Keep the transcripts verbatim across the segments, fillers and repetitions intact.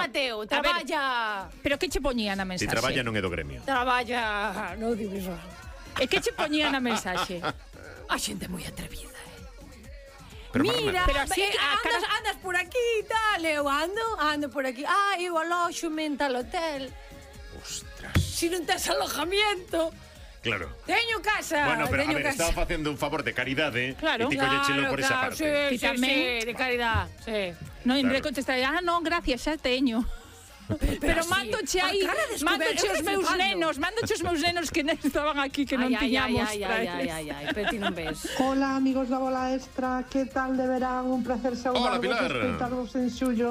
Mateo, traballa. Pero que che poñía na mensaxe? Si traballa non é do gremio. Traballa no audiovisual. E que che poñía na mensaxe? A xente moi atrevida. Pero Mira, pero así, eh, a andas, cara- andas por aquí e tal, eu ando, ando por aquí. Ah, eu aloxo en tal hotel. Ostras. Si non tes alojamiento, Claro. teño casa. Bueno, pero a teño ver, casa. estaba facendo un favor de caridade. Claro. E ti colléchelo por esa claro, parte. Sí, Ti sí, tamén. sí, de caridad, sí. Non, en vez de Claro. contestar, ah, non, gracias, xa teño. Pero así, mándoche a aí, cara de mándoche descoberto, os meus flipando. nenos, mándoche os meus nenos que non estaban aquí, que non Ai, ai, tiñamos ai, para ai, ai, eles. ai, ai, pero ti non ves. Hola amigos da Bola Extra, que tal de verán? Un placer Hola, saudarvos Pilar. e escoitarvos en xullo.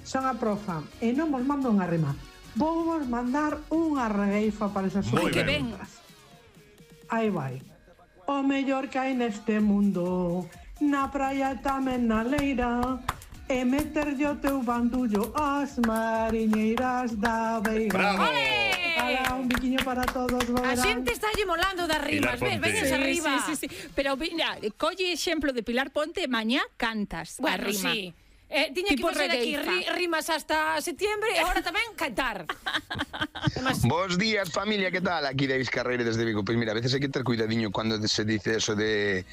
Son a profa e non vos mando unha rima. Vou vos mandar unha regueifa para esas Moi Que ben. ben. Aí vai. O mellor que hai neste mundo, na praia tamén na leira, e meterlle o teu bandullo ás mariñeiras da Veiga. Bravo. Ala, un biquiño para todos, vos A verán. xente está lle molando das rimas, ves, Pilar Ponte. veñes Sí, arriba. Sí, sí, sí. Pero mira, colle exemplo de Pilar Ponte, mañá cantas a Bueno, rima. sí. Eh, tiña Tipo que facer aquí regueifa. ri, rimas hasta septiembre e agora tamén cantar. Además, Bos días, familia, ¿qué tal? Aquí David Carreira desde Vigo. Pois mira, a veces hai que ter cuidadiño cando se dice eso de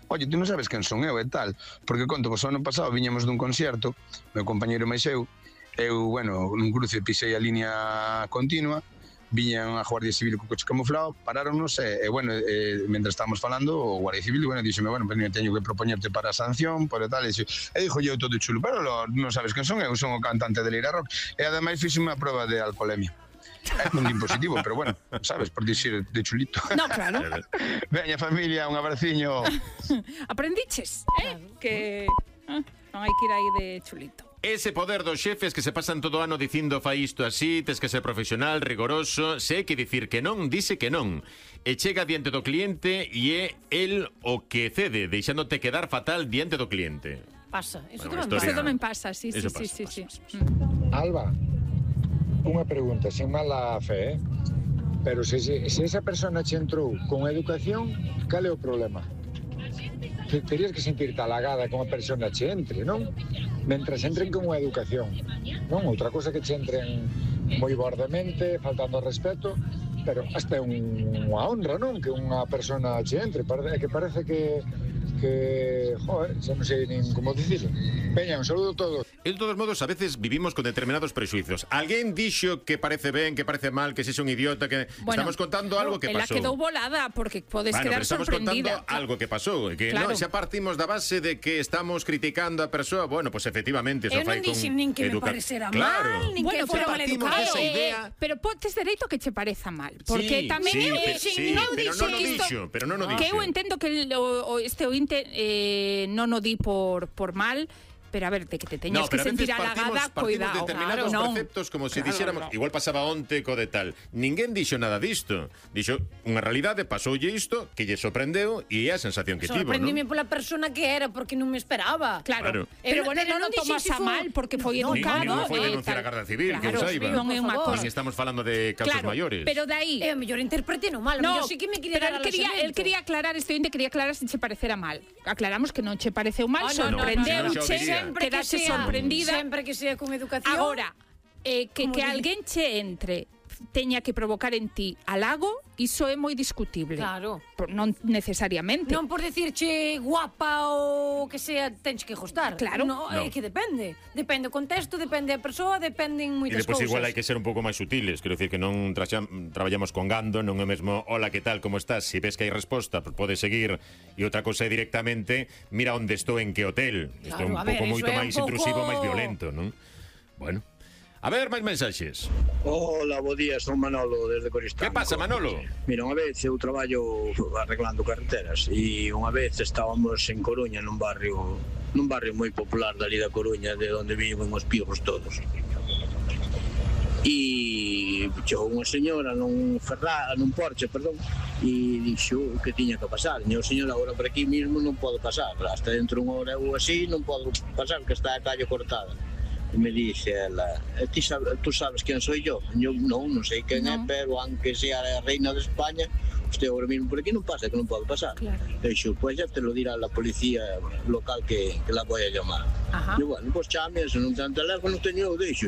oye, tú non sabes quen son eu e tal, porque conto, vos ano pasado viñamos dun concierto, meu compañeiro máis eu, eu, bueno, nun cruce pisei a línea continua, viñan a Guardia Civil co coche camuflado, paráronnos e, e bueno, e, mentre estábamos falando, o Guardia Civil, bueno, díxome, bueno, pues, teño que propoñerte para a sanción, por e tal, e, dixo, e dixo eu todo chulo, pero lo, non sabes quen son eu, son o cantante de Leira Rock, e ademais fixe unha proba de alcoholemia. É un din positivo, pero bueno, sabes, por dicir de chulito. No, claro. Veña familia, un abraciño. Aprendiches, eh? Que ah, non hai que ir aí de chulito. Ese poder dos xefes que se pasan todo o ano dicindo fai isto así, tes que ser profesional, rigoroso, se hai que dicir que non, dice que non. E chega diante do cliente e é el o que cede, deixándote quedar fatal diante do cliente. pasa, eso Bueno, tamén historia- Eso tamén pasa, sí, sí, Eso sí, pasa, sí, pasa, sí. pasa, Mm. Alba, unha pregunta, sin mala fe, eh? Pero se, se, se esa persona che entrou con educación, cal é o problema? Te- Terías que sentirte halagada con a persona che entre, non? Mentras entren con unha educación, non? Outra cosa que che entren moi bordemente, faltando ao respeto, pero hasta é un, unha honra, non? Que unha persona che entre, Parece- que parece que que, joder, xa non sei nin como dicirlo. Veña, un saludo a todos. E de todos modos, a veces vivimos con determinados prejuicios. Alguén dixo que parece ben, que parece mal, que se é un idiota, que Bueno, estamos contando algo que ela pasou. quedou volada porque podes Bueno, quedar pero estamos sorprendida. contando algo que pasou, que Claro. non, xa partimos da base de que estamos criticando a persoa, bueno, pues efectivamente, Eu eso non fai con dixen nin que me educa- parecera Claro. mal, nin Bueno, que fora pero mal partimos educado. desa Eh, idea. pero pontes dereito que che pareza mal, porque Sí, tamén sí, eu pero- dixen, sí, non pero dixen non o isto- dixo, pero non o que eu dixo. entendo que el, o, o este ointe eh, non o di por por mal, pero a ver, de que te teñas No, que pero a sentir veces partimos, halagada, partimos cuidado. de determinados Claro, non. preceptos como se Claro, dixéramos, non. igual pasaba onte co de tal. Ninguén dixo nada disto. Dixo unha realidade, pasoulle isto, que lle sorprendeu e é a sensación que tivo, Sorprendime non? pola persona que era, porque non me esperaba. Claro. Claro. Pero Pero- bueno, pero non non o tomas dixen a se fo- mal porque foi No, educado. Nin non foi eh, denunciar a tal. Garda Civil, que Claro, eu saiba. non é unha Por favor. cosa. Nin estamos falando de casos Claro, maiores. pero de aí E a mellor interprete no mal, a No, mellor sí que me quería pero dar él quería, él alojamento. quería aclarar, este ointe quería aclarar se che parecera mal. Aclaramos que non che pareceu mal, Ah, no, no, sorprendeu, no, no, no, che, no, no, Sempre que quedaste sea, sorprendida. sempre que sea con educación. Agora, eh, que, Como que di- alguén che entre teña que provocar en ti halago, iso é moi discutible. Claro. Por, non necesariamente. Non por decirche guapa ou que sea, tens que gustar. Claro. No, No. é que depende. Depende o contexto, depende a persoa, dependen E moitas depois cousas. igual hai que ser un pouco máis sutiles. Quero dicir que non traxam, traballamos con gando, non é mesmo hola, que tal, como estás? Se ves que hai resposta, podes seguir. E outra cousa é directamente mira onde estou, en que hotel. Isto é Claro, un a pouco ver, moito iso é un máis pouco- intrusivo, máis violento, non? Bueno. A ver, máis mensaxes. Hola, bo día, son Manolo desde Coristanco. Que pasa, Manolo? Mira, unha vez eu traballo arreglando carreteras e unha vez estábamos en Coruña nun barrio nun barrio moi popular dali da Coruña, de onde viven os pijos todos. E chegou unha señora nun Ferrari, nun Porsche, perdón, e dixo que tiña que pasar. E o señor, agora por aquí mismo non podo pasar, hasta dentro unha hora ou así non podo pasar, que está a calle cortada. E me dixe ela, "E ti sabes, tú sabes quen soy yo?" E eu, non, non sei quen é, pero aunque sea a reina de España, usted agora mismo por aquí non pasa, que non pode pasar. Claro. E dixo, pues ya te lo dirá la policía local que, que la voy a llamar. Ajá. E bueno, pues chame, se non ten teléfono, teño eu, dixo.